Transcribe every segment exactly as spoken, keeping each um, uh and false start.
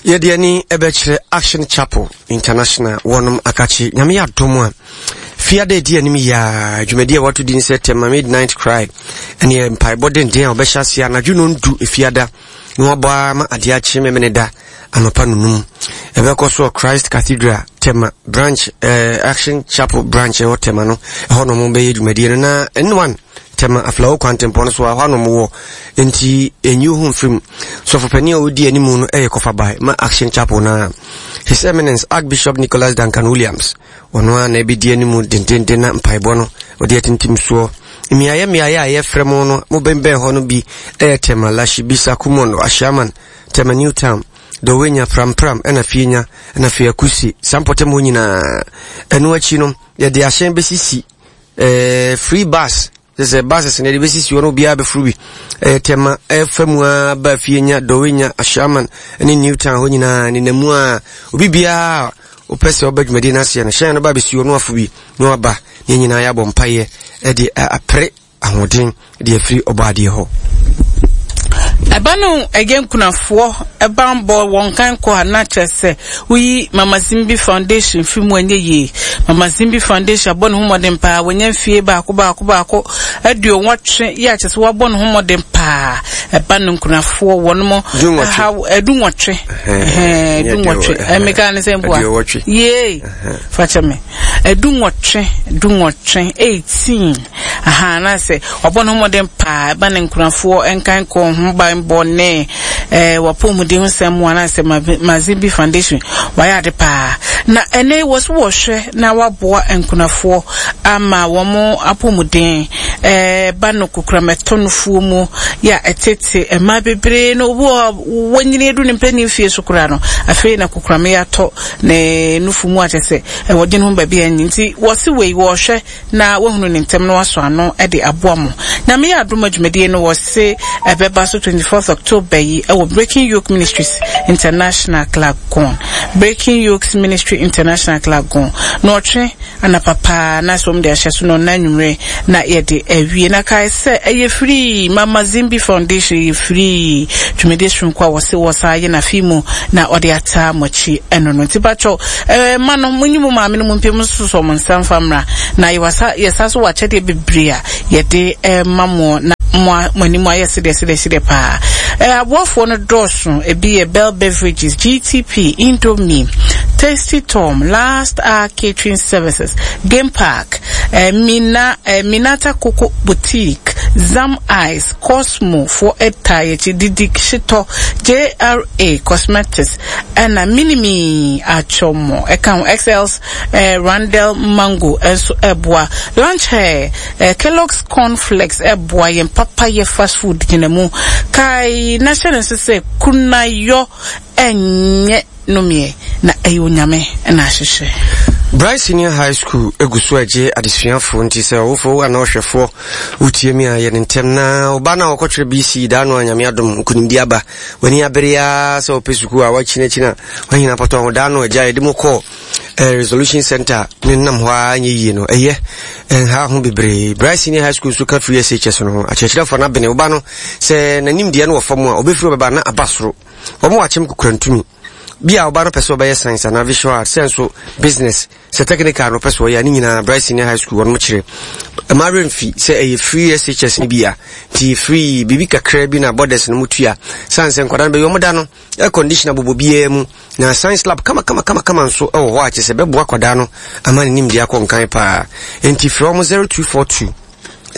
Yɛde ani ɛbɛkyerɛ Action Chapel International wɔnom akakye. Nyame yɛ adom a, fiada edi anim yaa dwumadi a wɔato din sɛ Tema Midnight Cry ɛne mpaebɔ denden a wɔbɛhyɛ ase anadwo nondu efiada na wɔabɔ ama adeɛ akye memene da anɔpa nonum. Ɛbɛkɔ so wɔ Christ Cathedral Tema branch, eh, Action Chapel branch ɛwɔ Tema no, ɛhɔ nom bɛyɛ dwumadie no na N one Tema Aflao kwantempɔn no so a hɔ anom wɔ, nti ɛnyi ho mfirim. Sɔfopanin a ɔdi anim no ɛyɛ kɔfabae ma Action Chapel na His Eminence Archbishop Nicholas Duncan Williams, ɔno a na ɛbɛdi anim dendenden na mpaebɔ no ɔde atintim soɔ. Mmeaeɛ mmeaeɛ a yɛfrɛ mo no, mobɛnbɛn hɔ no bi ɛyɛ Tema, Lashibi, Kumondo, Ashaiman, Tema New Town, Dɔwenya, Prampram, ɛna Fienya, ɛna Fiakusi, saa mpɔtam hɔ nyinaa. Ɛno akyi no, yɛde ahyɛn bɛsisi eh, free bus, sɛ buses na yɛde bɛsisi hɔ no, obiara bɛforo bi. Ɛyɛ Tema ɛfa mu a ba Fienya, Dɔwenya, Ashaiman ne New Town hɔ nyinaa nenamu a obi biara wopɛ sɛ ɔba dwumadi no aseɛ no, hyɛn no ba bɛsi hɔ no afo bi na waba ne nyinaa yɛabɔ mpayɛ ɛde apere ahoɔden de afiri ɔbɔ adeɛ hɔ. Ɛba no ɛyɛ nkunafoɔ ɛbanbɔ wɔn kan kɔ a na kyerɛ sɛ woyi Mama Zimbi Foundation fi mu ɛnyɛ yie. Mama Zimbi Foundation abɔ ne ho mmɔden paa, wɔnyɛ mfie baako baako baako aduonwɔtwe yɛ akyerɛ sɛ wɔabɔ ne ho mmɔden paa. Ɛba no nkunafoɔ wɔn mo ɛhaw ɛdu nwɔtwe ɛdu nwɔtwe ɛmeka ne sɛ mboa yee fakyɛ me ɛdu nwɔtwe du nwɔtwe eighteen aha na sɛ wɔabɔ ne ho mmɔden paa. Ɛba ne nkunafoɔ nkan kɔ ho banbɔ ne ɛɛ wɔapɔmuden ho sɛm mu anaasɛ Mazimbi Foundation wɔayɛ ade paa na ɛnɛ wɔ so wɔhwɛ na waboa nkunafoɔ ama wɔn apɔmuden. Ɛɛ ba no kokoramɛtɔ nufuo mu yɛ a ɛtete mmaa bebree no, obi wɔ wɔnyini edu ne mpanyin fie so koraa no, afei na kokoramɛ yɛ atɔ ne nufu mu akyɛ sɛ ɛwɔ dwen ho baabi a ɛnyi, nti wɔsi wei wɔhwɛ na wɔhunu ne ntɛm na wasɔ ano de aboa mo. Na meyɛ adom adwumadie no wɔse ɛbɛba so twenty-fourth October yi ɛwɔ Breaking Yoke Ministries International Clagon, Breaking Yokes Ministry International Clagon, na ɔtwe anapa paa na sɛ wɔn de ahyɛ so no na anwummerɛ na yɛde awie. Na kae sɛ ɛyɛ free. Mama Zimbi Foundation yɛ free dwumadie soronko a wɔse wɔsa yɛ n'afi mu na ɔde ataa mo akyi ɛno no, nti patwɔ ɛɛ ma no mo nyi mo maame no mo mpem nso mo nsa mfa mmra na yɛwasa yɛsa so wɔ akyɛdeɛ bebree a yɛde ɛma mo na mo mo anim ayɛ sedeɛ sedeɛ sedeɛ paa. Ɛɛ aboafoɔ no dɔɔso, ebi yɛ Bell Beverages, G T P, Indomie, Tasty Tom, Last Hour Catering Services, Game Park, eh, Mina, eh, Minata Coco Boutique, Zam Ice, Cosmo for ɛta yɛkyi Didi Shitɔ, J R A Cosmetics, ɛna Minimi Atwɔmɔ ɛka ho, X Ls, eh, Randall Mango ɛnso ɛboa, Lunch Hair, eh, Kellogg's Cornflakes ɛboa yɛn papa yɛ fast food gyina mu. Kae na hyɛ ne nso sɛ kunayɔ ɛnyɛ nomeɛ na ɛyɛ Onyame ɛna ahyehyɛ. Bright Senior High School egu so agye adesuafoɔ, nti sɛ ɔwofoɔ anaa ɔhwɛfoɔ wotie mi a, yɛ ne ntɛm na ɔba no a wɔkɔtwerɛ B C daa no a Nyame adom nkonimdi aba, w'ani abere a sɛ wɔpɛ sukuu a wakyinakyina wahina pɔtɔ ho daa no agya yɛde mu kɔɔ eh, resolution center ne nam hɔ a nyɛ yie no, ɛyɛ ɛnha ho bebree. Bright Senior High School nso ka free S H S no ho. Akyerɛkyerɛfoɔ no abene woba no sɛ n'anim deɛ no wɔ fam a, ɔbɛfiri ɔbɛba na aba soro. Wɔn wɔ akyem kukurantumi bi a ɔba no pɛ sɛ ɔbɛyɛ science anaa visual art, sɛ nso business, sɛ technical no pɛ sɛ ɔyɛ a, ne nyinaa Bright Senior High School wɔnom kyerɛ. Ɛma remfi sɛ ɛyɛ free S H S no bi a, nti free biribi kakra bi na borders no mu tua sane sɛ nkwadaa no bɛyɛ ɔmo da no air conditioner bobɔ biara mu na science lab kama kama kama kama nso ɛwɔ hɔ a kyerɛ sɛ bɛboa akwadaa no ama ne nimdeɛ akɔ nkan paa. Nti frɛ ɔmo zero two four two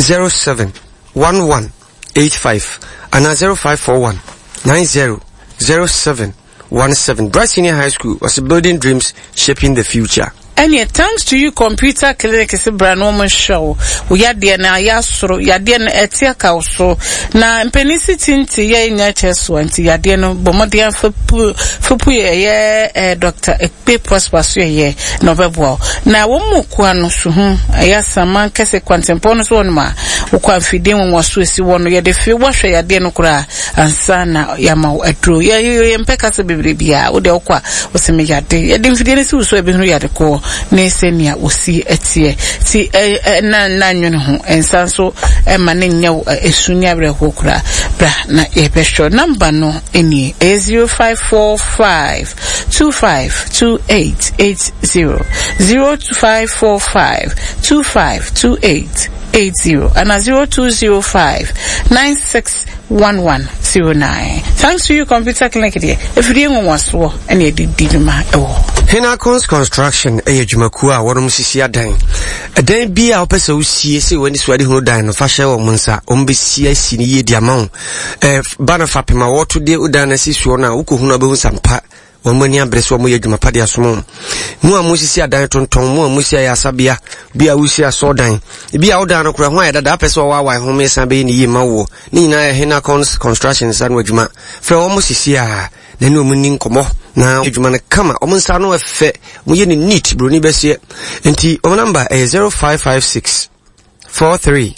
zero seven one one eight five anaa zero five four one nine zero zero seven one seven. Bright Senior High School was building dreams, shaping the future. Ɛneɛ Thanks to You Computer Clinic sɛ bra na ɔmo nhwɛ wo wo yadeɛ no ayɛ asoro, yadeɛ no ɛte aka wo so na mpanin si tinti yɛ nyɛ kyɛ so a, nti yadeɛ no bɔ mmɔden afa pu fapu yɛ ɛyɛ ɛɛ Doctor Ekpe Prosper so yɛyɛ na ɔbɛboa wo na wɔn mu kua no so ho ɛyɛ asaman kɛse kwantempɔn no so hɔ nom a wokɔ afidie nwanwa so esi hɔ no, yɛde fi wɔhwɛ yadeɛ no koraa ansa na yɛama wo aduro. Yɛ yɛ yɛmpɛ kasa bebree biara. Wode wokɔ a wɔsɛ me yade, yɛde mfidie no si wo so a, ebɛhunu yade kɔɔ. ne sɛnea wɔsi teɛ. Ti na na nwene ho nsa nso ɛma ne nyɛ esu ne awerɛhoɔ koraa. Bra na yɛbɛhwɛ number no nie, ɛyɛ zero five four five two five two eight eight zero, zero five four five two five two eight eight zero, and a zero two zero five nine six one one zero nine. Thanks to you, Computer Clinic deɛ, efidie nwanwasoɔ ɛna yɛde di dwuma ɛwɔ. Hinacons Construction ɛyɛ dwumakuo a wɔnom sisi adan. Ɛdan bi a wopɛ sɛ wosie sɛ w'ani so ade hunu dan no, fa hyɛ wɔn nsa. Wɔn bɛsi asi no yie de ama wo. Ɛɛ ba no fapem a wɔto de dan no asi soɔ no a, wokɔhunu a wobɛhu sampa. Wɔn ani abere sɛ wɔyɛ adwuma pa de asom wɔn. Mo a mosisi adan tontɔn, mo a mosi ayɛ asabea, bi a wosi asɔɔdan, bi a wodan no koraa ho ayɛ dada, apɛ sɛ wɔwaawae ho mmiɛnsa bɛyɛ ne yie ma woɔ. Ne nyinaa yɛ Hinacons Construction nsa no adwuma. Frɛ wɔn sisi a na ne wɔn ni nkɔmmɔ na adwuma no kama. Wɔn nsa no ɛfɛ, wɔyɛ ne neat, buroni bɛseɛ. Nti wɔn namba ɛyɛ zero five five six four three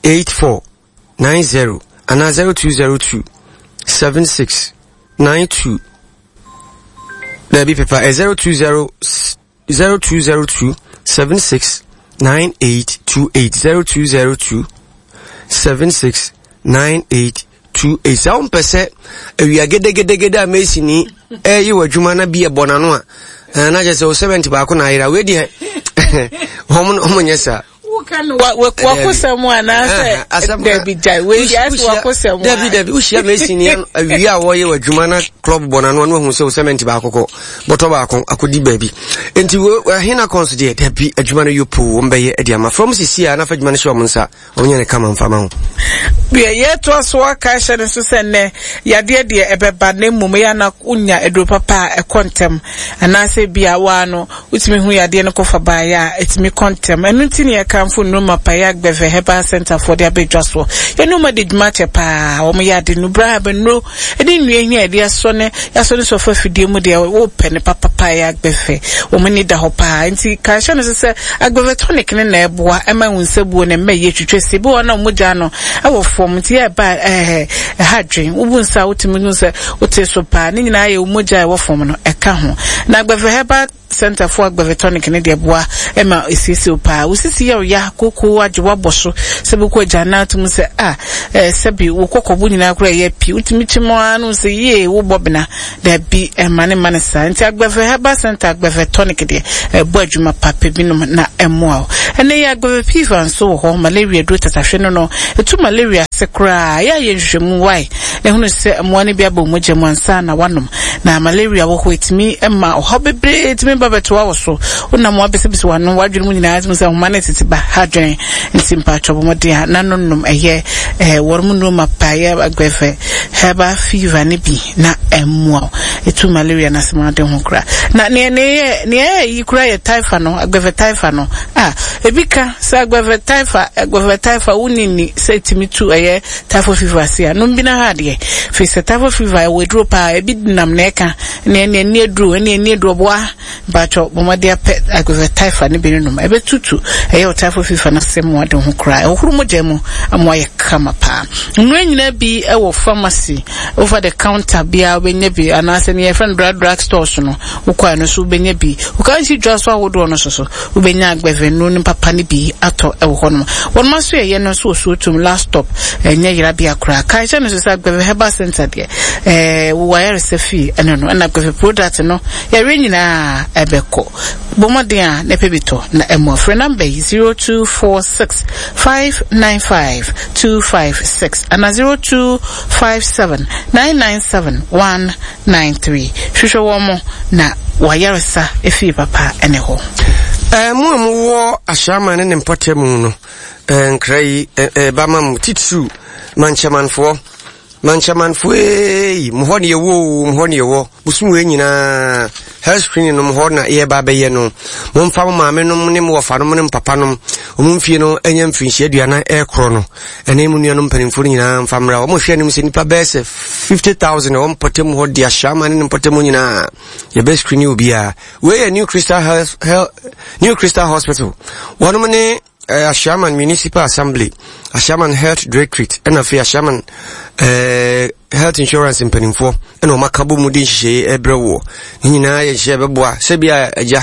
eight four nine zero anaa zero two zero two seven six nine two. Dabi pepa ɛ zero two zero zero two zero two seven six nine eight two eight, zero two zero two seven six nine eight two eight. Sɛ wompɛ sɛ awia gedegedegede a mesi ni ɛyi wɔ adwuma na bi ɛbɔ n'ano a, ɛɛ na kyerɛ sɛ o seventy baako na ayera wei deɛ wɔn wɔn nyɛ saa. Wakosɛm anaasɛ dabi gyae wei deɛ asɛ wakosɛm. Dabi dabi, wohyia mesi ni awia a wɔyɛ wɔ adwuma na club bɔ n'ano ano ahu sɛ o cement baako kɔ bɔtɔ baako akɔdi baabi. Nti Hinacons deɛ dabi adwuma no yɛ poo, wɔn bɛyɛ de ama from sisi a nafa adwuma no hyɛ wɔn nsa, wɔn nyɛ ne kama mfa ma ho. Deɛ yɛtoa so aka hyɛ no nso sɛ nnɛ yadeɛ deɛ ɛbɛba na mmom yɛ ana wonya aduro papa a ɛkɔ ntɛm, anaasɛ bi a waa no wotumi hu yadeɛ no kɔfa baeɛ a ɛtumi kɔ ntɛm. Ɛno nti ne yɛkamfo nnuro pa yɛ Agbeve Herbal Center foɔ de abɛdwa soɔ. Yɛne wɔn adi dwuma kyɛ paa, wɔn yɛ ade nubra abɛnuro ɛne nnua hia yɛde asɔ ne yɛasɔ ne sɔfo afidie mu deɛ wopɛ ne papapa yɛ Agbeve. Wɔn ani da hɔ paa. Nti ka hyɛ no so sɛ Agbeve tonic ne na ɛboa ɛma wo nsabuo ne mma yie twitwa si bi wɔ na mogya no ɛwɔ fam nti yɛ ɛba ɛɛ ɛha dwen wobu nsa wotumi hu sɛ wote so paa ne nyinaa yɛ mogya ɛwɔ fam no ɛka ho. Na Agbeve Herbal Center for Agbeve tonic ne deɛ boa ɛma esiesie paa. Wosisi yɛ ɔya koko agye wabɔ so sɛ bɛkɔ agya na atum sɛ a ɛɛ sɛbi wo kɔkɔbo nyinaa koraa ɛyɛ pii wotumi kyi mu ara no sɛ yie wobɔ bena dabi ɛma ne ma ne saa. Nti Agbeve Herbal Center Agbeve tonic deɛ ɛbɔ adwuma papa binom na ɛmmoa wo. Ɛnɛ yɛ Agbeve fever nso wɔ hɔ, malaria duro tatahwe no no ɛtu malaria ase koraa. Yɛ ayɛ nhwehwɛmu wae na ehunu sɛ mmoa no bi abɔ mogya mu ansa na wanom. Na malaria wɔ hɔ ɛtumi ɛma ɔhaw bebree ɛtumi ba bɛtoa wɔ so. Wonam wabɛsɛbɛsɛ w'ano w'adwene mu nyinaa tumi sɛ nhoma no tete ba ha dwene. Nti mpaatwɔ bɔ mmɔden a na nonom ɛyɛ ɛɛ wɔn mu nneɛma pa yɛ Agbeve Herbal fever ne bi na ɛmmoa wo. Ɛtu malaria no asɛm ade ho koraa. Na nea nea nea ɛyɛ yi koraa yɛ typha no, Agbeve typha no. A ebi ka sɛ Agbeve typha, Agbeve typha wonni ni sɛ ɛtumi tu ɛyɛ typhoid fever ase a nom bi na ha adeɛ. Firi sɛ typhoid fever ɛwɔ aduro paa, ebi nam na ɛka nea nea ni aduro ɛne ni aduro boa. Mpaatwɔ bɔ mmɔden apɛ Agbeve typha ne bi no nom. Ɛbɛtutu ɛyɛ wo typhoid fever no asɛm mu ade ho koraa. Ɛhohoro mogya mu ama ayɛ kama paa. Nnuro nyinaa bi ɛwɔ pharmacy, over the counter biara wobɛnya bi, anaasɛ nea yɛfrɛ no drug drug stores no wokɔ ɛno so wobɛnya bi. Woka nsi dwa so ahodoɔ no so so wobɛnya Agbeve nnuro no papa no bi atɔ ɛwɔ hɔnom. Wɔn aso yɛyɛ no nso wɔ Suotum last stop, ɛnyɛ yerabea koraa. Kae hyɛ no so sɛ Agbeve Herbal Center deɛ ɛɛ wowɔ ayaresa fie ɛno no, ɛna Agbeve product no yɛre nyinaa ɛbɛkɔ. Bɔ mmɔden a na ɛpɛ bi tɔ na ɛmmoa. Frɛ number yi zero two four six five nine five two five six ana zero two five seven nine nine seven one nine three. Hwehwɛ wɔn mo na wayaresa efie papa ɛne hɔ. Ɛɛ mo a mowɔ Ahyɛaman ne ne mpɔtam mu no, ɛɛ nkra yi ɛɛ ba ma mo titiriw mankyɛmanfoɔ. Mankyɛmanfoɔ ee, mo hɔ ne yɛwɔ o, mo hɔ ne yɛwɔ. Bosom wei nyinaa health screening no mo hɔ na yɛba abɛyɛ no. Momfa mo maame nom ne mo wɔfa nom ne mo papa nom wɔn mfie no ɛnyɛ mfirinhyia aduanan ɛrekorɔ no, ɛne mo nuanom mpanimfoɔ no nyinaa mfa mmra. Wɔn hwɛ anim sɛ nnipa bɛyɛ sɛ fifty thousand ɛwɔ mpɔtam hɔ de Ahyɛaman ne ne mpɔtam nyinaa yɛbɛ screening obiara. Wei yɛ New Crystal Health, Health, New Crystal Hospital. Wɔnom ne eh, Ashaiman Municipal Assembly, Ashaiman Health Directorate, ɛna afei Ashaiman eh, Health Insurance mpanimfoɔ ɛna wɔn aka bɔ mu de nhyehyɛeɛ ɛbrɛ woɔ. Ne nyinaa yɛ nhyehyɛeɛ bɛboa sɛ bi a agya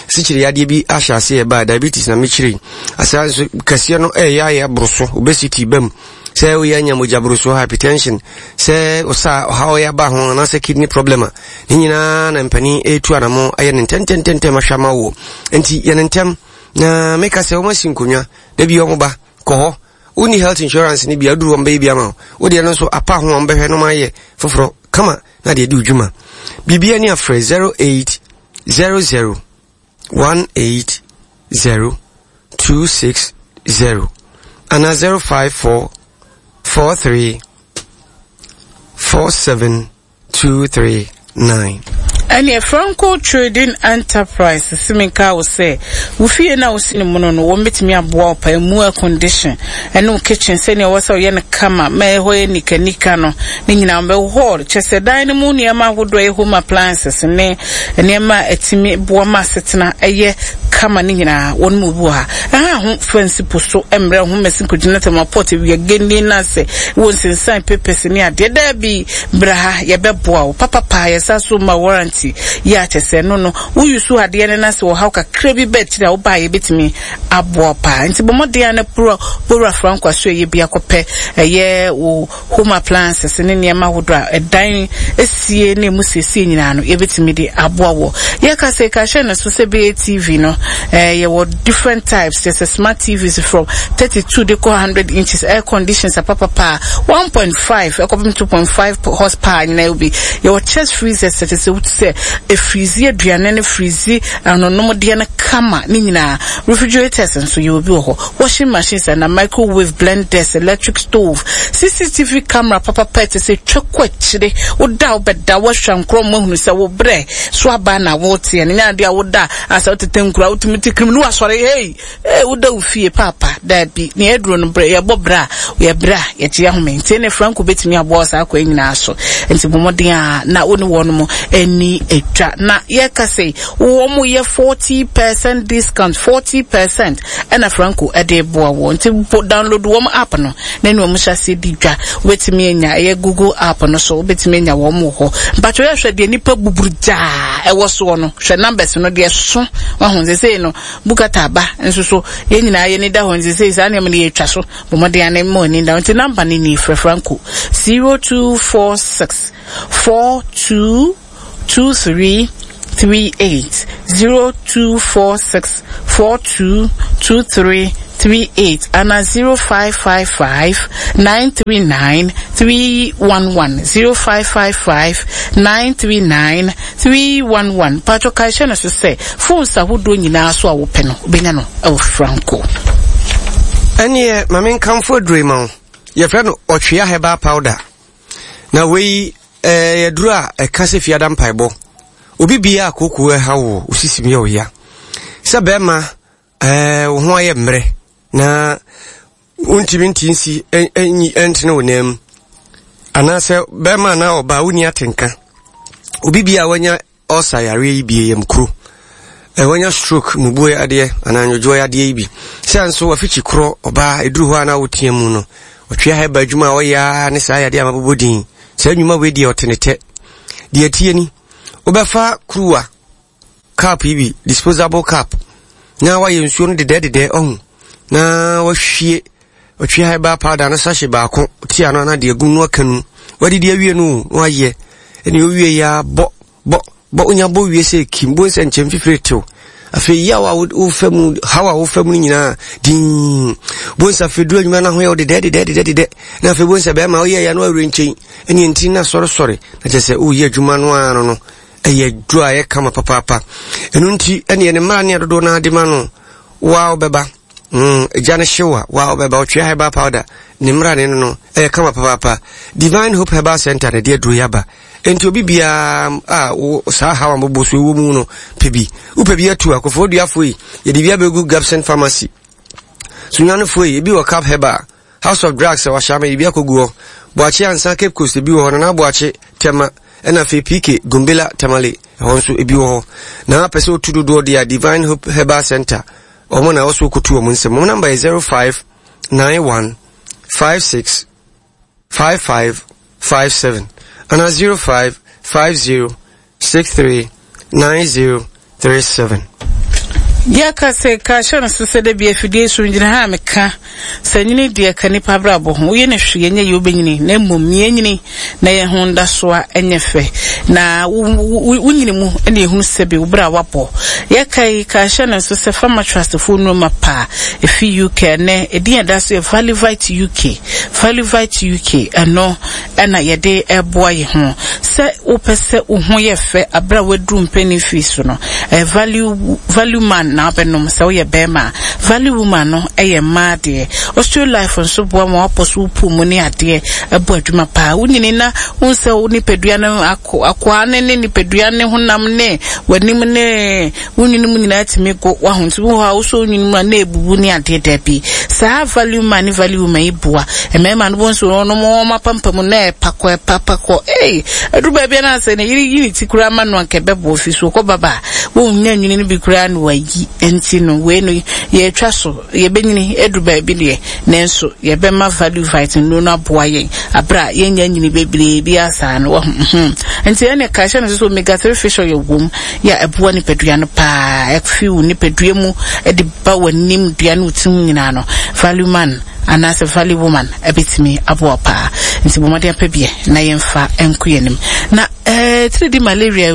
sikyiri yadeɛ bi ahyɛ ase ɛba diabetes na mekyerɛ yi. Asa nso kɛseɛ no ɛyɛ ayɛ aboro so, obesity ba mu. Sɛ woyɛ anya mogya boro so, hypertension, sɛ ɔsa ɔhaw yɛ aba ho anaasɛ kidney problem a, ne nyinaa na mpanin ɛretu anamo ayɛ ne ntɛntɛntɛntɛm ahwɛ ama woɔ. Nti yɛ ne ntɛm. Na meka sɛ wɔn asi nkonnwa da bi wɔn ba kɔ hɔ. Wonni health insurance ne bi aduru wɔn bɛyɛ bi ama wo. Wodeɛ no nso apa ho wɔn bɛhwɛ no ma ayɛ foforɔ kama na deɛ di odwuma. Biribi ani afrɛ zero eight zero zero one eight zero two six zero ana zero five four four three four seven two three nine. Ɛneɛ Franco Trading Enterprise si menka wo sɛ wo fie na wosi ne mono no wɔn bɛtumi aboa wo pa mu air condition ɛne wo kitchen sɛnea ɛwɔ sɛ ɔyɛ no kama ma ɛhɔ yɛ nikanika no ne nyinaa wɔbɛwɔ hall kyɛ sɛ dan no mu nneɛma ahodoɔ ɛyɛ home appliances ne nneɛma a ɛtumi boa ma asetena ɛyɛ kama ne nyinaa wɔn mu bi wɔ ha. Ɛha ho fansi po so mmerɛ ho mɛsi nkɔgyina tɛm port awia geni na sɛ wɔ nsensan papers ne adeɛ daa bi bra ha yɛbɛboa wo papapa. Yɛsa so ma warranty yɛ akyɛ sɛ no no woyi so adeɛ no na sɛ wɔhaw kakra bi bɛ akyiri a wobaa yɛbɛtumi aboa paa. Nti bɔ mmɔden a na pura bɔwura Franco aso ɛyɛ bi akɔpɛ ɛyɛ wo home appliances ne nneɛma ahodoɔ a ɛdan esie ne emu siesie nyinaa no yɛbɛtumi de aboa wɔ. Yɛka sɛ ka hyɛ no so sɛ bɛyɛ T V no, ɛɛ yɛwɔ different types, kyɛ sɛ smart T Vs from thirty two de kɔ hundred inches, air conditions apapapa one point five ɛkɔpem two point five horsepower nyinaa bi. Yɛwɔ chest freezers kyɛ sɛ wotu sɛ efirizi aduane ne firizi anonomdeɛ no kama ne nyinaa. Refrigerators nso yɛwɔ bi wɔ hɔ, washing machines ana microwave, blenders, electric stove, C C T V camera papapa ɛte sɛ twa kɔ akyire. Woda a wobɛda woahwɛ nkorɔ mu ahunu sɛ wo brɛ so aba na woteɛ no nyɛ adeɛ a woda asɛ wotete nkura wotumi te kirim ne wasɔre hei ee woda wo fie paapa daabi. Ne yɛduro no brɛ yɛbɔ brɛ a yɛbrɛ a yɛgye ahome nti ne Franco bɛtumi aboa saa akɔ nyinaa so. Nti bɔ mmɔden a na wo ne wɔn mo ani atwa na yɛka sɛ wɔn mo yɛ forty percent discount, forty percent ɛna Franco ɛde boa wɔn. Nti download wɔn app no na ne wɔn hyɛ aseɛ di dwa. Wobɛtumi anya ɛyɛ Google app no so, wobɛtumi anya wɔn wɔ hɔ. Mpatwa yɛhwɛ deɛ nipa buburu gyaa ɛwɔ soɔ no, hwɛ numbers no deɛ so wahu sɛ no bukata aba nso so yɛn nyinaa yɛn ni da hɔ. Nti sɛ saa nneɛma no yɛtwa so bɔ mmɔden ane ma ani da. Nti number no ni, frɛ Franco zero two four six four two two three three eight, zero two four six four two two three three eight, ana zero five five five nine three nine three one one, zero five five five nine three nine three one one. Patro kae hyɛ no so sɛ phones ahodoɔ nyinaa so a wopɛ no wobɛnya no ɛwɔ Franco. Ɛneɛ ma menkamfo aduro yi ma wo. Yɛfrɛ no Ɔtwea Herbal Powder na wei ɛɛ yɛduro a ɛka sɛ fiada mpaebɔ obi bia a kooko ɛha wo, wosisim yɛ wo ya sɛ bɛrima ɛɛ wo ho ayɛ mmerɛ na wontumi nti nsi ɛnyi ɛntene wo nan mu anaasɛ bɛrima anaa ɔbaa wonni atenka, obi bia a wanya ɔsa yareɛ yi bie yam kuro, ɛ wanya stroke, mubuo yadeɛ anaa nwodwoɔ yadeɛ yi bi sɛ nso wafikyi korɔ ɔbaa ɛduru hɔ a na wotea mu no, Ɔtwea Herbal adwuma a ɔyɛ a ne saa yadeɛ a mabobɔ din saa nnwuma wei deɛ ɔte ne tɛ deɛ tie ni. Wobɛfa kuruwa cup yi bi, disposable cup, na wayɛ nsuo no dedɛɛdedɛɛ ɔho na wahwie Ɔtwea Herbal Powder no sachet baako tia no ana deɛ gu no aka no wadidi awie no na wayɛ ɛne owie yɛ bɔ bɔ bɔ onya bɔ wie sɛ kim bo nsɛ nkyɛn fifiri tew. Afei yaw a wofa mu, haw a wofa mu no nyinaa din bo nsa. Afei duru adwuma no ho yɛ wo dedɛ dedɛ dedɛ dedɛ na afei bo nsa bɛrima woyɛ ya no awerɛ nkyɛn ɛne nti na sɔresɔre na kyerɛ sɛ woyɛ adwuma no ara no no ɛyɛ duro a ɛyɛ kama papaapa. Ɛno nti ɛne ɛne mmara ne adodoɔ no ade ma no waa wobɛba mm, agya no hyew a waa wobɛba. Ɔtwea Herbal Powder ne mmara ne no no ɛyɛ kama papaapa. Divine Hope Herbal Center na ɛde aduro yi aba. Nti obi biara a wo saa haw a mobɔ so ɛwɔ mu no pɛ bi, wopɛ bi atu akɔfoɔ duafoɔ yi, yɛde bi abɛgu Gabson Pharmacy. Sunyanifoɔ yi, ebi wɔ Cap Herbal, House of Drugs a wahyɛ ama ebi akɔgu hɔ. Boakye Ansa, Cape Coast, ebi wɔ hɔ. Nana Boakye, Tɛma, ɛna afei P K Gombela, Tamale, ɛhɔ nso ebi wɔ hɔ. Na apɛ sɛ otu dodoɔ deɛ a, Divine Hope Herbal Center. Ɔmo na ɔso kotu ɔmo nsɛm. Ɔmo number yɛ zero five nine one five six five five five seven ana zero five five zero six three nine zero three seven. Yɛka sɛ ka hyɛ no so sɛ da bi afidie so gyina ha a meka sɛ nyini deɛ ka nipa abrabɔ ho woyɛ no hwee ɛnyɛ yɛ wobɛnyini na mmom yɛnyini na yɛn ho nda so a ɛnyɛ fɛ na wonyini mu ɛna ɛhunu sɛ bi wo berɛ a wabɔ. Yɛka yi ka hyɛ no so sɛ Pharma Trust foɔ nnuruma paa ɛfi U K ɛnɛ ɛdin ɛda so yɛ Valivite U K. Valivite U K ɛno ɛna yɛde ɛboa yɛ ho sɛ wopɛ sɛ wo ho yɛ fɛ aberɛ a waduru mpanin fie so no ɛyɛ value, value man na wabɛnom sɛ woyɛ bɛrima. Value woman no ɛyɛ mmaa deɛ. Osteo Life nso boa ma wapɔ so wopu mu ne adeɛ ɛbɔ adwuma paa. Wonyini na wohu sɛ wo nipadua no akɔ akoa ne ne nipadua ne honam ne w'anim ne wonyini mu nyinaa tumi go waho nti wo hɔ a wosɔ wonyini mu a na ebubu ne adeɛ daabi. Saa value man ne value woman yi boa mmarima no bonso wɔn wɔn apampam na ɛpakɔ ɛpapakɔ ee aduru baabi na sɛ ne yere yi ne ti koraa ma no anka ɛbɛboa fi so kɔ baba wɔn nya nwini no bi koraa na wayi nti no wei no yɛtwa so yɛbɛnyini aduru baabi deɛ nanso yɛbɛma value vite no no aboa yɛn abra yɛnya nyini bebree bi asa no wɔ hmm nti ɛne ka hyɛ no so omega three fish oil wom ya ɛboa nipadua no paa ɛfi wo nipadua mu ɛde ba w'anim dua no tirim nyinaa no value man anaasɛ value woman ɛbɛtumi aboa paa nti bɔ mmɔden apɛ biɛ na yɛmfa nko yɛnim na eh three D malaria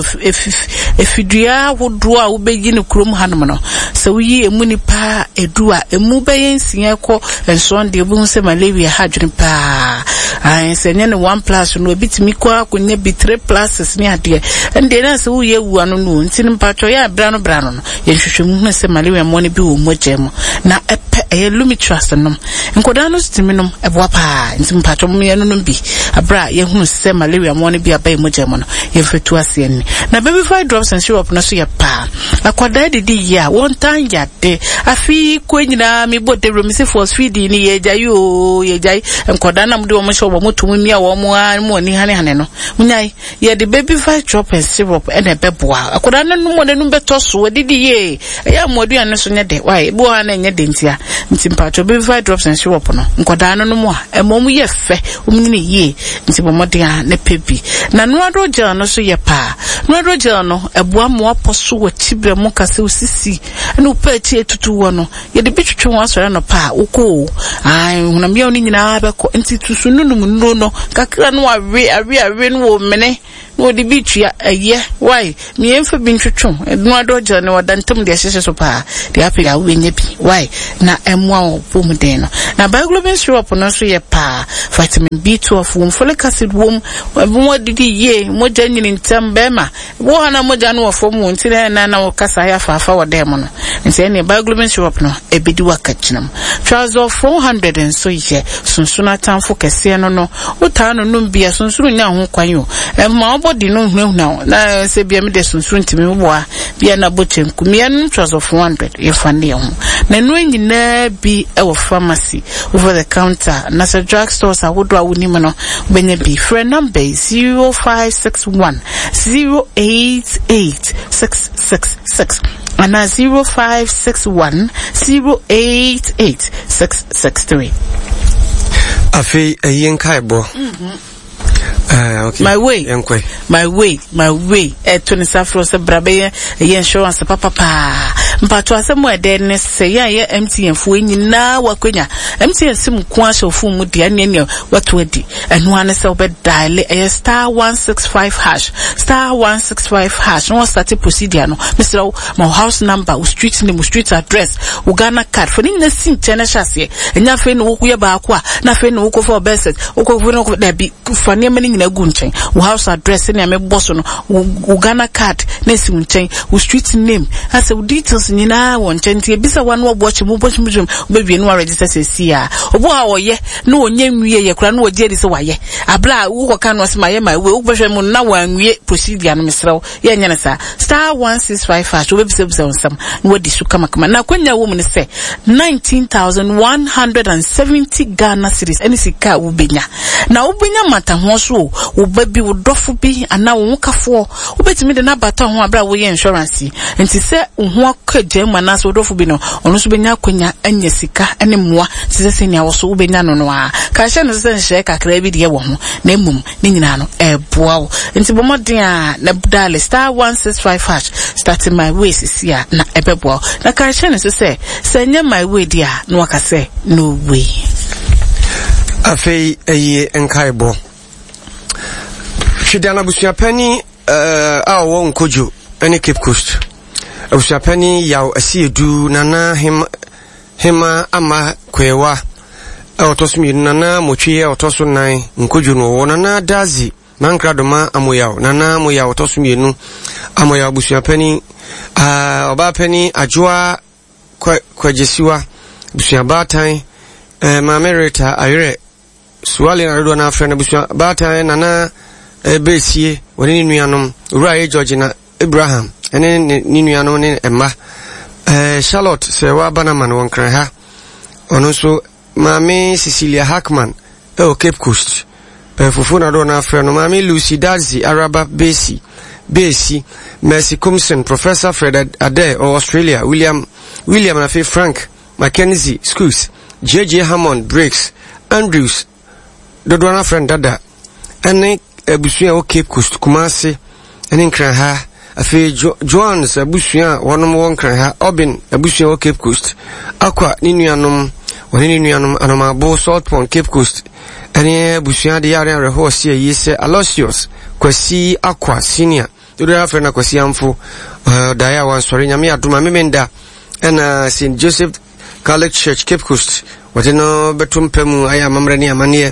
efidua ahodoɔ a wobɛyi no kurom hanom no sɛ woyi emu nipa edu a emu bɛyɛ nsia kɔ nson deɛ wobɛhu sɛ malaria ha adwene paa ae sɛ nyɛ ne one plus no ebi tumi kɔ akɔnya bi three pluses ne adeɛ ɛndeɛ na sɛ woyɛ wu ano no nti no mpatwɔ yɛ abra no bra no no yɛnhwehwɛ mu hu sɛ malaria mmoa no bi wɔ mogya mu na ɛpɛ ɛyɛ Lumitrust nom nkɔdaa no tumi nom ɛboa paa nti mpatwɔ mo yɛn nom bi abra yɛhunu sɛ malaria mmoa no bi aba mogya mu no yɛmfɛtu aseɛ ni na baby five drops and syrup no so yɛ paa akwadaa didi yie a wɔntan yade afi kɔ nyinaa mebɔ dawuro me sɛ force feeding ni yɛgyae o yɛgyae nkɔdaa na mode wɔn hyɛ wɔn to mu mia wɔn a mu ani hane hane no munyae yɛde baby five drop and syrup ɛna ɛbɛboa akwadaa no nom wɔn anum bɛtɔ so wɔdidi yie ɛyɛ amoaduane no so nyɛ de wae ebi wɔ ha na ɛnyɛ de ntia nti mpatwɔ baby five drops and syrup no nkɔdaa no nom a ɛma wɔn yɛ fɛ wɔn nyini yie nti bɔ mmɔden a ne pɛ bi na nuado gel no so yɛ paa nuado gel no ɛboa mmoa pɔ so wɔ kyibere mu kase osisi ɛna wopɛ akyi etutu wɔ no yɛde bi twitwi wɔn asɔre no paa wokɔ o ayi hunam yɛn no nyinaa bɛkɔ nti tusu nunum nnuro no kakra no awe awe awe no wɔ mene na wɔde bi tua ɛyɛ wae mmiɛnfa bi ntwitwi nuado gel no wɔda ntam deɛ ɛhyehyɛ so paa deɛ apɛ a wobɛnya bi wae na ɛmmoa wɔ pɔm den no na biglobin syrup no nso yɛ paa vitamin B twelve wom folic acid wom wɔn adidi yie mogya nyini ntɛm bɛrima wo ha na mogya no wɔ fam wɔ nti na na na wɔkasa ayɛ afaafa wɔ dan mu no nti ɛne biglobin syrup no ebedi wakagyina mu Trazol four hundred nso yɛ sunsun atamfo kɛseɛ no no wotaa no nom bia sunsun nya ho kwan o ɛma ɔbɔ di no hunahuna na sɛ bia me de sunsun ntumi boa bia na bɔ kyɛnku mmea no Trazol four hundred yɛfa ne ho na no nyinaa bi ɛwɔ pharmacy over the counter na sɛ drug stores ahodoɔ a wonim no wobɛnya bi frɛ number zero five six one zero eight eight six six six and zero five six one zero eight eight six six three. Afi eyi nkaebo. Uh, okay. My way, my way, my way. Eh, Tony Safro se brabe ye insurance papa pa. Mpato asem we de ne se ya ye M T N fo nyina wakwenya. M T N sim ko ahye fo mu de ane ne wato adi. Eno ane se obe dial eh star one six five hash star one six five hash. No start procedure no. Mister my house number, street name, street address, Ghana card. For ni na sin chene chase. Enya fe no wo ye ba akwa, na fe no wo ko for best. Wo ko no da bi fa ne mani nyina gu nchen. Wo house address ne me boss no, wo Ghana card na si nchen, wo street name, ase wo details nyina wo nchen nti ebisa wa no obo chi mo bo chi mo be wie no register sesi a. Obo ha wo ye na onye nwie ye kura na wo je di se wa ye. Abla wo ko kan no se ma ye ma we wo behwe mu na wa nwie procedure no mesrew. Ye nyene sa star one six five hash wo bebisa bisa nsam na wadi su kama kama na kwanya wo mu ne se nineteen thousand one hundred seventy Ghana cedis ene sika wo benya na wo benya mata ho so wo ba bi wo dofo bi ana wo kafo wo Wobɛtumi de n'abata ho abere a woyɛ insurance yi. Nti sɛ wo ho akɔ agya mu anaasɛ wodɔfo bi no, ɔno nso bɛnya akwanya anya sika ne mmoa te sɛ sɛnea wo so wobɛnya no no a. Ka hyɛ no sɛ nhyehyɛe kakraa bi deɛ wɔ ho, na mmom ne nyinaa no ɛboa wo. Nti bɔ mmɔden a na dial star one six five hash start my way sisi a na ɛbɛboa wo. Na ka hyɛ no so sɛ sɛ ɛnyɛ my way deɛ a na waka sɛ no way. Afei ɛyie nkaebɔ. Hwedan abusuapani uh, a ɔwɔ Nkojo ne Cape Coast. Abusuapani Yaw Asiedu Nana Hema, Hema Ama Kwewa a ɔtɔ so mmienu, Nana Motwe a ɔtɔ so nan Nkojo no ɔwɔ Nana Dazi Mankra Doma Amoyaw, Nana Amoyaw ɔtɔ so mmienu, Amoyaw abusuapani uh, ɔbaapani Adwoa Kwagyesiwa, abusuabaatan uh, Maame Rita Ayerɛ Suale na dodoɔ no afrɛ no abusua baatan Nana Besie wɔne ne nuanom Owura A. George na Abraham ne ne ne nuanom ne mma eh, Charlotte sɛ waba no ama no wɔ Nkran ha. Ɔno nso Maame Cecilia Hackman ɛwɔ Cape Coast. Eh, fufuo na dodoɔ no afrɛ no Maame Lucy Dadzie Araba Besi Besi Mercy Kumson, Professor Fred Adair ɔwɔ Australia, William William na afei Frank Mackenzie Schools, J J Hammond Briggs Andrews dodoɔ no afrɛ no dada ɛne abusua a ɛwɔ Cape Coast, Kumasi ɛne Nkran ha. Afei jo Joans abusua a wɔnom wɔ Nkran ha, Obin abusua wɔ Cape Coast, Akwa ne nuanom wɔne ne nuanom Anomabo Salt Pond Cape Coast ɛne abusua de yare awerɛhoɔ si ayie sɛ Aloysius Kwasi Akwa Senior dodoɔ no afrɛ no Akwasi Amfo ɔdaeɛ a wansɔre. Nyame adom a Memenda ɛna Saint Joseph Catholic Church Cape Coast wɔde no bɛto mpa mu ayɛ amammerɛ ne amanneɛ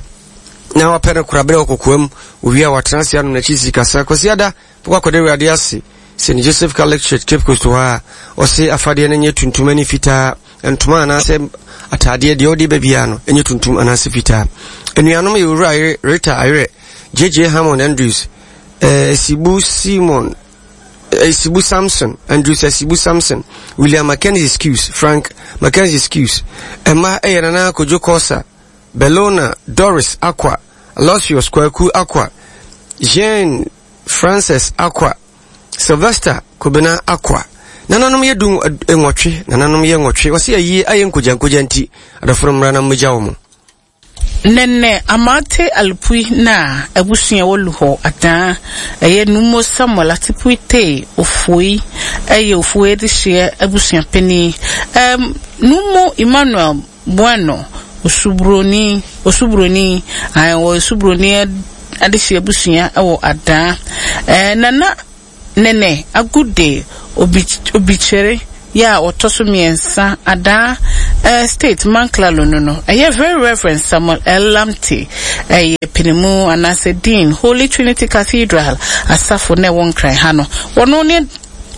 na wapɛ no kora berɛ wɔ kokoam. Owie a watena ase anom n'akyi si kasa. Kwasi ada bɛkɔ akɔda Awurade ase Saint Joseph Catholic Church Cape Coast hɔ a ɔse afadeɛ no nyɛ tuntum ne fitaa, ntoma anaasɛ ataadeɛ deɛ ɔde ba biara no nyɛ tuntum anaasɛ fitaa. Anuanom yɛ Owura Ayere Rita Ayere, J J Hammond Andrews, eh, Sibu Simon, eh, Sibu Samson, Andrews Asibu Samson, William Mackenzie Skews, Frank Mackenzie Skews. Ɛma ɛyɛ Nana Kojo Kosa, Bellona Doris Akwa, Aloysius Kwaku Akwa, Jean Frances Akwa, Sylvester Kobena Akwa. Nananom yɛ du nwɔtwe, nananom yɛ nwɔtwe. Wɔsi ayie ayɛ nkogya nkogya nti, adɔfo no mmra na mmegya wɔn. Nene Amate Alupui na abusua wɔ Luhɔ adan ɛyɛ Numo Samuel Atipui te Ofoi ɛyɛ Ofoi de hyɛ abusua panyin. Um, Numo Emmanuel Bueno Osubroni Osubroni ayɛ wɔ Osubroni adehyɛ abusua ɛwɔ adan. Eh, Nana Nene Agude Obi Obikyere ya ɔtɔ so mmiɛnsa adan eh, State Manklalo no no ɛyɛ Very Reverend Samuel L. Lamte ɛyɛ pinimu anaasɛ Dean Holy Trinity Cathedral asafo na ɛwɔ Nkran ha no. Wɔno ne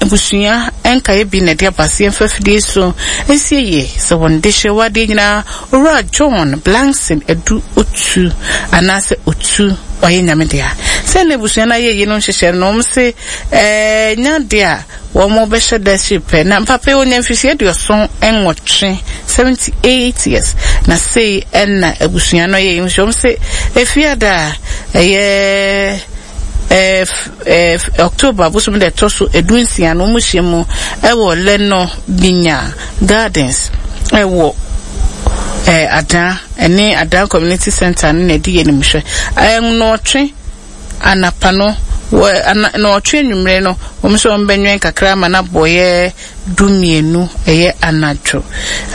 abusua nkaeɛ bi na ɛde aba se yɛmfa fidie so nsie yie sɛ wɔn de hyɛ wadeɛ nyinaa Owura John Blankson Adu Otu anaasɛ Otu ɔyɛ Nyame dea. Sɛ na abusua no ayɛ yie no nhyehyɛ no wɔn se ɛɛ nya deɛ a wɔn bɛhyɛ da akyiri pɛ na mpapa yi onya mfirihyia aduɔson nwɔtwe seventy eight years na sei ɛna abusua no ayɛ yi nso wɔn se efiada a ɛyɛ eh, eh, October bosom da ɛtɔ so edu nsia no wɔn hyia mu ɛwɔ Leno Binya Gardens ɛwɔ eh, Adan ɛne Adan Community Center no na ɛdi yɛ anim hwɛ ɛɛ nnɔɔtwe anapa no wɔ ana nnɔɔtwe anwummerɛ no wɔn nso wɔn bɛnwɛn kakra ama no abɔyɛ du mmienu ɛyɛ anadwo.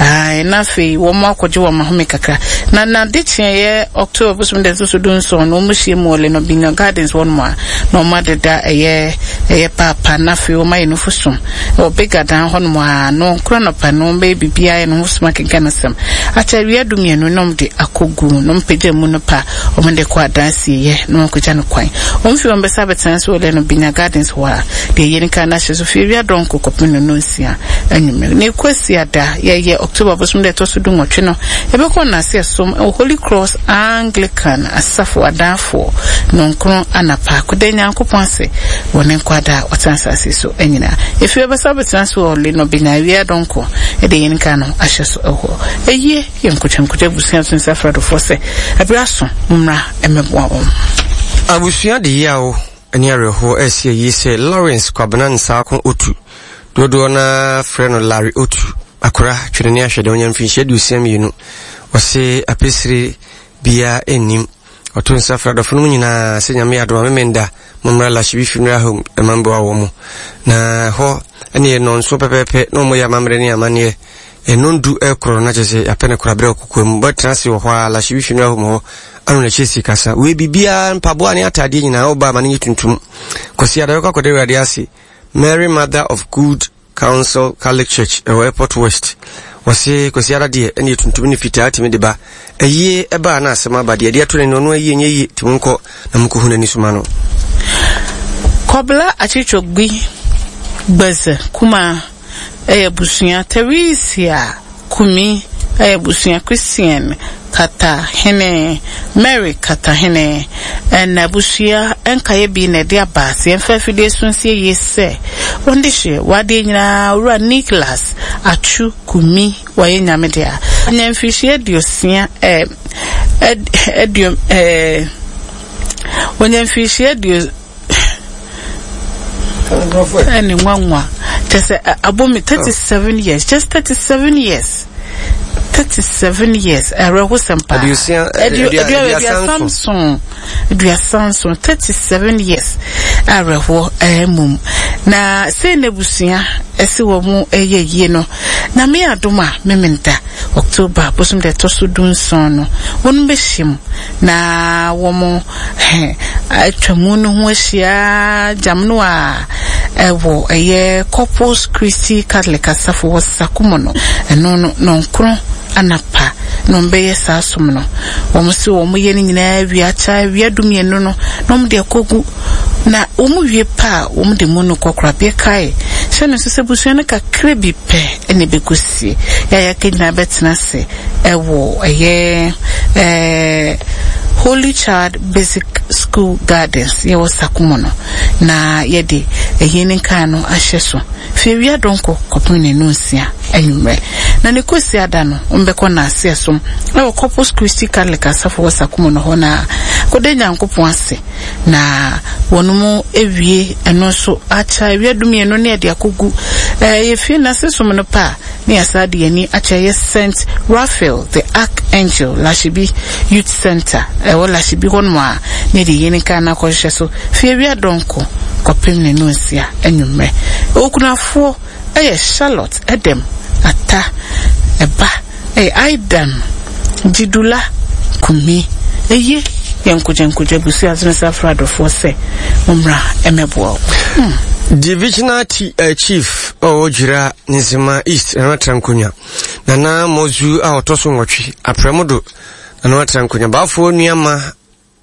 Ae, na afei wɔn akɔgye wɔn ahome kakra. Na n'ade kyeɛ October bosom da ɛtɔ so du nson no wɔn hyia mu wɔ Leno Binya Gardens wɔn mu a na wɔn adeda ɛyɛ ɛyɛ paapa na afei wɔn ayɛ nufu som ɛwɔ Big Adan hɔ nom a no nkura nɔpa no wɔn bɛyɛ biribiara ayɛ no ho som akenkan asɛm akyɛ awia du mmienu na wɔn de akɔgu na wɔn pagya mu no pa wɔn de kɔ adan sieyɛ na wɔn akɔgya no kwan. Wɔn fi wɔn bɛsa abɛtena so wɔ Leno Binya Gardens hɔ a deɛ yɛn kan na ahyɛ so fi awia dɔnko kɔpem no no nsia anwummerɛ. Na ekwasi ada yɛyɛ October bosom da ɛtɔ so du nwɔtwe no yɛbɛkɔ n'ase ɛsom ɛwɔ Holy Cross Anglican asafo adanfoɔ nɔnkron anapa kɔda Nyankopɔn ase wɔ ne nkwadaa a ɔtena asase so nyinaa. Efi bɛbɛsa bɛtena so wɔ Leno Binya awia dɔnko ɛde yɛn kan no ahyɛ so ɛhɔ. Ɛyie yɛ nkotwankotwa abusua so nsa afradofoɔ sɛ ɛberɛ aso mommra ɛmɛboa wɔn. Abusua de yaw Ne awerɛhoɔ ɛsi ayie sɛ Lawrence Kwabena Nsaako Otu, dodoɔ na frɛ no Larry Otu, akora twene ne ahwɛdeɛ, ɔnya mfirinhyia aduosia mmienu. Ɔse apɛsire biara ɛnnim. Ɔto nsa frɛ adɔfo no mu nyinaa sɛ Nyame adom a, Memenda mommra Lashibi Funeral Home ɛma mboa wɔ mo, na hɔ ɛne yɛ nɔnso pɛpɛɛpɛ na ɔmɔyɛ amammerɛ ne amanneɛ. Ɛno du ɛkorɔ na kyerɛ sɛ yɛapɛ no koraberɛ ɔkokoa mu bɛtena ase wɔ hɔ a, Lashibi Funeral Home hɔ ano na kyerɛ si kasa wei biribiara, mpaboa ne atadeɛ nyinaa woba ma no nyɛ tuntum. Kɔsi ada bɛkɔ akɔda Awurade ase, Mary Mother of Good Counsel Catholic Church ɛwɔ Airport West. Wɔse Kwasi ara deɛ, ɛne tuntum ne fitaa tumi de ba ɛyie ɛbaa na asɛm aba deɛ ɛde ato n'ani, ɔno ayie nyɛ yie, nti monkɔ na monkɔhu n'ani soma no. Kɔbla Akyitwogbi Gbɛzɛ Kuma ɛyɛ abusua, Teresia Kumi ɛyɛ abusua, Christian Katahene, Mary Katahene ɛna abusua nkaeɛ bi na ɛde aba sɛ yɛmfa afidie so nsie yie sɛ wɔn de hyɛ wadeɛ nyinaa Owura Nicholas Atsu Kumi, wɔyɛ Nyame dea, anya mfirihyia aduosia ɛɛ aduo ɛɛ wɔnya mfirihyia aduo ɛne nwanwa kyɛ sɛ abomi thirty seven years, just thirty seven years, thirty seven years, ɛrɛhosɛm paa. Aduosia- aduasa nson, aduasa nson, thirty seven years, awerɛhoɔ ɛmum na sei na abusua ɛsi wɔ mu ɛyɛ yie no. Na me adom a, Memenda October bosom deɛ ɛtɔ so du nson no, wɔn bɛhyia mu na wɔn hɛn atwa mu no ho ahyia gyam no a ɛwɔ ɛyɛ Corpus Christi Catholic Asafo wɔ Sakumo no, ɛno no nɔnkron anapa na wɔn bɛyɛ saa som no. Wɔn si wɔn yɛ no nyinaa wia kyɛ awia dumienu no na wɔn de akɔgu, na wɔn wie pa a, wɔn de mu no kɔkorabea kae hyɛ no nso sɛ busua no kakra bi pɛ ɛna ɛbɛkɔ sie. Yɛayɛ aka nyinaa bɛtena ase ɛwɔ ɛyɛ ɛɛ Holy Child Basic School Gardens yɛwɔ Sakumo no, na yɛde ɛyɛ ne nkaa no ahyɛ so fi awia dɔnkɔ kɔpem ne no nsia anwummerɛ, na ne kɔsi ada no, wɔmbɛkɔ n'ase ɛsom ɛwɔ Corpus Christi Catholic Asafo wɔ Sakumo no hɔ na kɔda Nyankopɔn ase, na wɔn mu ewie ɛno nso akyɛ awia dumienu ne yɛde akɔgu ɛɛ yɛfie n'ase som no pa a, ne yɛsa de yɛni akyɛ yɛ Saint Raphael the Archangel Lashibi Youth Center ɛwɔ Lashibi hɔnom a, ne yɛde yɛn nkaa no akɔhyehyɛ so fie awia dɔnko kɔpem ne no nsia anwummerɛ. Okunafoɔ ɛyɛ Charlotte Edem Ata, ɛba ɛyɛ Aidan Jidula Kumi. Eye yɛn nkogyankogya busua ase no sɛ afra adɔfoɔ sɛ mommra ɛmɛboa wo. hmm. Divisional uh, chief ɔwɔ Gwira Nzema East, Nana Trankonya, Nana Mozu a ɔtɔ so nwɔtwe aprɛmo do, Nana Trankonya baafoɔ nuama.